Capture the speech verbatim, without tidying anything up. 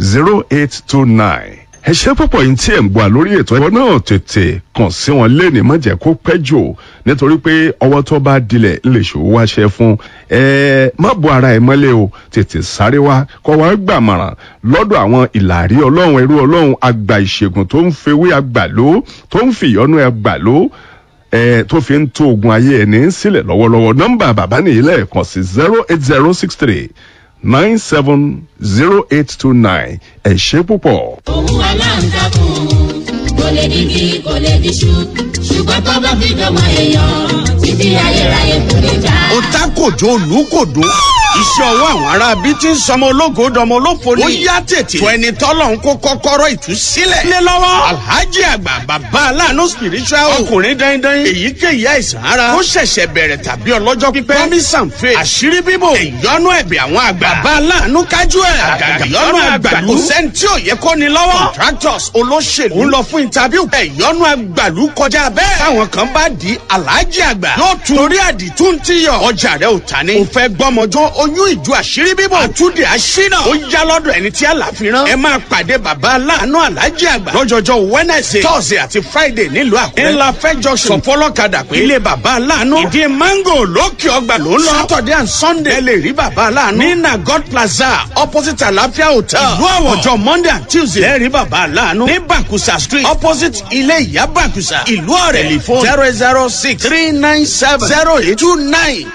zero eight two nine. Ẹ ṣe púpọ̀ yìí tí ẹ̀ ń gbọ́ lórí ètò ẹ̀kọ́ náà. Tètè kàn sí wọn léni, má jẹ́ kó pẹ́ jù, nítorí pé ọwọ́ tó bá dilẹ̀ lè ṣòwò wáṣẹ fún ẹ. Má bo ara ẹ mọ́lẹ̀ o, tètè sáré wá kọ́ wá gbàmọ̀ràn lọ́dọ̀ àwọn ìlàrí Ọlọ́run, ẹrú Ọlọ́run, àgbà ìṣègùn tó ń fewé àgbàló, tó ń fìyọ́nú àgbàló ẹ, tó fi ń tó ogun ayé ẹni sílẹ̀ lọ́wọ́lọ́wọ́. Nọ́mbà bàbá nìyí lẹ́ẹ̀kan sí: zero eight zero six three nine seven zero eight two nine. Ẹ ṣé púpọ̀. Òun aláǹtakùn kò lè digi, kò lè diṣu, ṣùgbọ́n tó bá fi dọ́mọ èèyàn, títí ayérayé kò lè já. Ó ta kòjó olùkòdó, iṣẹ́ ọwọ́ àwọn ará bí tí ń sọmọ ológo dọmọ olófo ni. Ó yá, tètè tó ẹni tọ́lọ̀ ń kó kọ́kọ́rọ́ ìtúsílẹ̀. Lé lọ́wọ́ Alhaji Àgbà, Bàbá Aláàánú Spiritual, ọkùnrin dandan. Èyíkéyìí àìsàn ara ó ṣẹ̀ṣẹ̀ bẹ̀rẹ̀ tàbí ọlọ́jọ́ pípẹ́, promise and faith, àṣírí bíbò, ìyọnu ẹ̀bẹ̀ àwọn àgbà, Bàbá Aláàánú kájú ẹ̀, àgàgà ìyọnu àgbàlú, kò sẹ́ni tí ò yẹ kó ni lọ́wọ́. Contractors, olóṣèlú ń lọ fún interview, ìyọnu àgbàlú kọjá bẹ́ẹ̀. Táwọn kan bá di Alhaji Àgbà yóò tún torí àdìtú ń tíyọ̀. Ọjà rẹ ò ta ni, ò fẹ́ gbọ́mọjọ́, oyún ìjọ, àṣírí bíbò, àtúndì àṣínà, ó yá lọ́dọ̀ ẹni tí àlàfíran. Ẹ máa pàdé Bàbá Aláàánú Aláàjì Àgbà lọ́jọ́jọ́ Wednesday, Thursday àti Friday nílùú Àkúrẹ́, ńlá fẹ́ junction. Sọfọlọ́kadà pé ilé Bàbá Aláàánú, Ìdí Mango, lókè Ọgbà ló ń lọ. Saturday and Sunday, ẹ lè rí Bàbá Aláàánú ní Nagot Plaza, opposite Àlàáfíà Hotel, ìlú Àwọ̀. Ọjọ́ Monday and Tuesday, ẹ rí Bàbá Aláàánú ní Bàkúsà Street, opposite ilé Ìyá Bàkúsà, ìlú Ọ̀rẹ́. Telephone zero zero six three nine seven zero eight two nine.